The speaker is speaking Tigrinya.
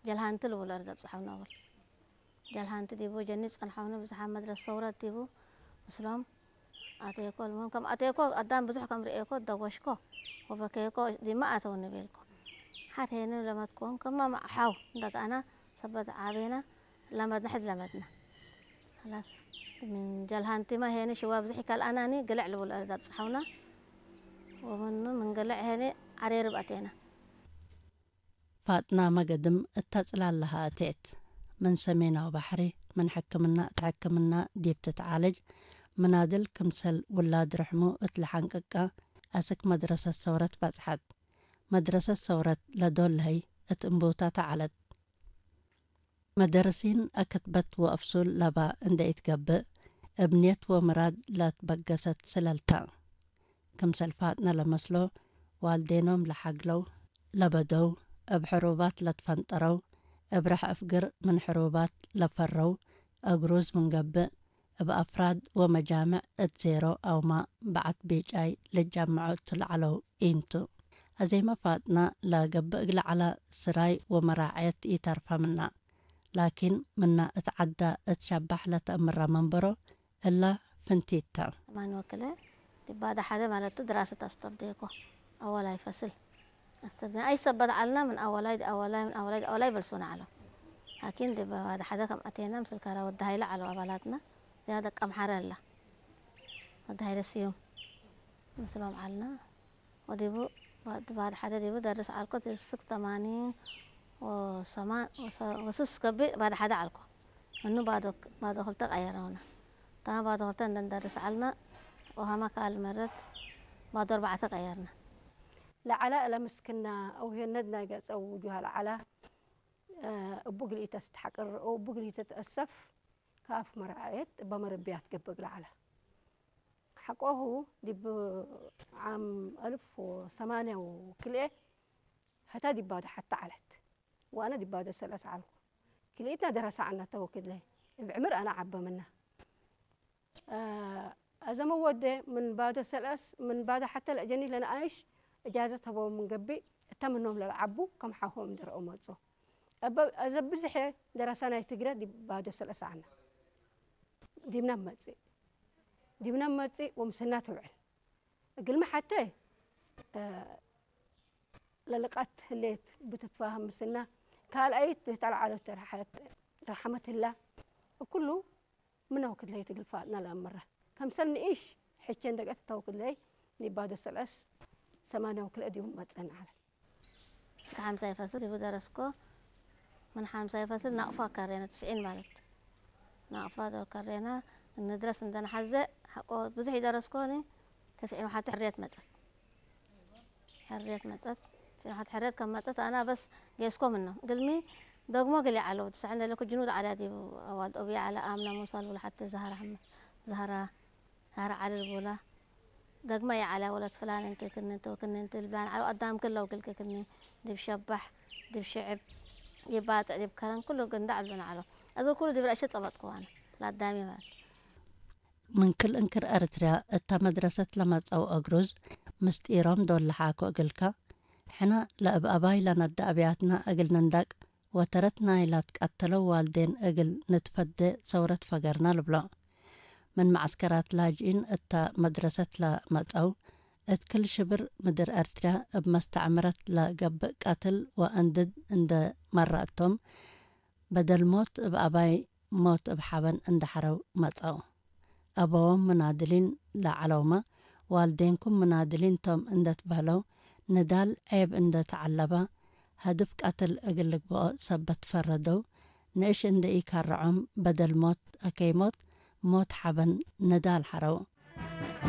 ጀልሃንቲ ልብሎ ርደብ ጽሓው ነብል። ጀልሃንቲ ዲቡ ጀኒ ጸንሓውኒ ብዙሓት መድረስ ሰውረት ዲቡ ምስሎም ኣተየኮ ልሞም ከም ኣተየኮ ኣዳም ብዙሕ ከም ርእየኮ ደወሽኮ ወበከየኮ ዲማ ኣተውኒ ቤልኮ። ሓድ ሄኒ ለመትኮም ከማ ማዕሓው እንደጋና ሰበት ዓቤና ለመድና ሕድ ለመድና። خلاص من ጀልሃንቲማ ሄኒ ሽዋ ብዙሕ ይካልኣናኒ ግልዕ ልብሎ ርደብ ጽሓውና። ወምኑ ምን ግልዕ ሄኒ ዓሬርብ ኣቴና። ፋጥና መገድም እታ ጽላል ለሃ እቴት። ምን ሰሜናዊ ባሕሪ ምን ሕክምና እት ሕክምና ዲብ ትትዓለጅ ምናድል ክምሰል ውላድ ርሕሙ እት ለሓንቅቃ ኣስክ መድረሰት ሰውረት በጽሐት። መድረሰት ሰውረት ለዶል ለሀይ እት እምቡታ ተዓለት። መደርሲን ኣከትበት ወአፍሱል ለባ እንደ ኢትገብእ፣ እብ ኔት ወምራድ ላትበገሰት ስለልታ። ክምሰል ፋጥነ ለመስሎ፣ ዋልዴኖም ለሓግለው ለበደው፣ እብ ሕሩባት ለትፈንጠረው፣ እብ ርሕ እፍግር ምን ሕሩባት ለፈረው፣ እግሩዝ ምን ገብእ፣ እብ አፍራድ ወመጃምዕ እት ዜሮ አውማ በዐት ቢጫይ ልጃመዖ እቱ ለዐለው ኢንቱ። አዜመ ፋጥና ለገብእ እግለ ዐላ ስራይ ወመራዐየት ኢተርፋ ምና። ላኪን ምና እት ዐዳ እት ሸባሕ ለተአምራ መንበሮ እላ ፍንቲት ተ። ማን ወክለ ዲባዳ ሓደ ማለቱ ድራሰት አስተብደኮ አወላይ ፈስል አስተብደ አይ ሰበት ዐልና ምን አወላይ አወላይ ምን አወላይ አወላይ በልሶና ዐሎ። ላኪን ዲባዳ ሓደ ከም አቴና ምስል ካራ ወዲ ሃይለ ዐሎ አባላትና። እዚኣ ደቀምሓረ ኣላ። ወዲ ሃይለ ስዩም ምስሎም ዓልና። ወዲቡ ባድ ሓደ ዲቡ ደርስ ዓልኮ ስክ ተማኒን ወሰማን ወስስ ከቢ ባድ ሓደ ዓልኮ። እኑ ባዶ ባዶ ክልተ ቀየረውና። እታ ባዶ ክልተ እንደንደርስ ዓልና። ወሃማ ካል መረት ባዶ ኣርባዕተ ቀየርና። ለዓላ ለምስክና አውሄነት ናይ ገጸው ጁሃ ለዓላ እቡ ግልኢተ ስትሓቅር እቡ ግልኢተ ትአሰፍ ካፍ መርዓየት እባ መረብያት ገብእ ለዓላ። ሓቆሁ ዲብ ዓም አልፍ ወሰማንያ ወክልኤ ሀታ ዲባዶ ሓታ ዓለት ወአነ ዲባዶ ሰለስ ዓልኩ። ክልኢትና ደረሳ ዓና ተወክድለይ እብ ዕምር አነ ዓበ ምና። አዘመ ወደ ምን ባዶ ሰለስ ምን ባዶ ሓተ ለአጀኒ ለነአንሽ እጃዘት ሀበው ምን ገብእ እተ ምኖም ለልዓቡ ከም ሓሆም ድርኦ መጹ። እበ አዘ ብዝሐ ደረሳ ናይ ትግረ ዲብ ባዶ ሰለስ ዓና ዲብና መጽእ ዲብና መጽእ ወምስና ትውዕል። እግልሚ ሓተ ለልቃት ህሌት ብትትፋሃም ምስና ካልኣይት ቤት አልዓሎት ረሓመት ህላ እኩሉ ምነው ክድለይ ትግልፋጥና ለአምራ ከምሰል ንኢሽ ሕቼ እንደቀት ተው ክድለይ ኒባዶ ሰለስ ሰማንያው ክልእ ዲቡ መጸን ዓለ። እስከ ሓምሳይ ፈስል ይቡ ደረስኮ። ምን ሓምሳይ ፈስል ናቕፋ ከሬና ትስዒን ማለት ናቕፋ ዶ ከሬና እንድረስ እንደንሓዘ ሓቆ ብዙሕ ይደረስኮኒ። ተስዒን ሓቲ ሕርየት መጸት ሕርየት መጸት። ተስዒን ሓቲ ሕርየት ከም መጸት ኣና በስ ጌስኮ ምኖ ግልሚ ደግሞ ግሊ ዓለው ትስዕን ደለኩ ጅኑድ ዓላ ዲቡ ኣዋልድ ኦብያ ዓላ ኣምና ሙሳ ልብሉ ሓቲ ዛህራ ሓመ ዛህራ ዛህራ ዓሊ ልቡላ። ደግመ የዓላ ወለት ፍላን እንክክኒ እንተ ወክኒ እንት ልብላን ዓው ኣዳም ክለው ግልክክኒ ድብ ሸባሕ ድብ ሽዕብ ድብ ባጽዕ ድብ ከረን ኩሉ ግንዳዕ ብሉን ዓሎ። እዚ ኩሉ ድብ ረእሸ ጸበጥኩ ዋነ ላዳሚ ማለት። ምን ክል እንክር ኤርትርያ እታ መድረሰት ለመጸው እግሩዝ ምስጢሮም ዶል ለሓኮ እግልካ፣ ሕነ ለእብ አባይ ለነደ አብያትና እግል ንንዳቅ ወተረት ናይ ላትቃተለው ዋልዴን እግል ንትፈዴ ሰውረት ፈገርና ልብሎ። ምን መዐስከራት ላጅኢን እተ መድረሰት ለመጸው፣ እት ክል ሽብር ምድር ኤርትርያ እብ መስተዕምረት ለገብእ ቀትል ወእንድድ እንደ መረአቶም፣ በደል ሞት እብ አባይ ሞት እብ ሐበን እንደ ሐረው መጸው። አበዎም ምናድሊን ለዐለውመ፣ ዋልዴንኩም ምናድሊን ቶም እንደ ትበህለው፣ ንዳል ዔብ እንደ ተዐለበ፣ ሀድፍ ቀትል እግል ልግበኦ ሰበት ፈረደው፣ ንእሽ እንደ ኢካረዖም በደል ሞት አከይ ሞት፣ ሞት ሐበን ንዳል ሐረው።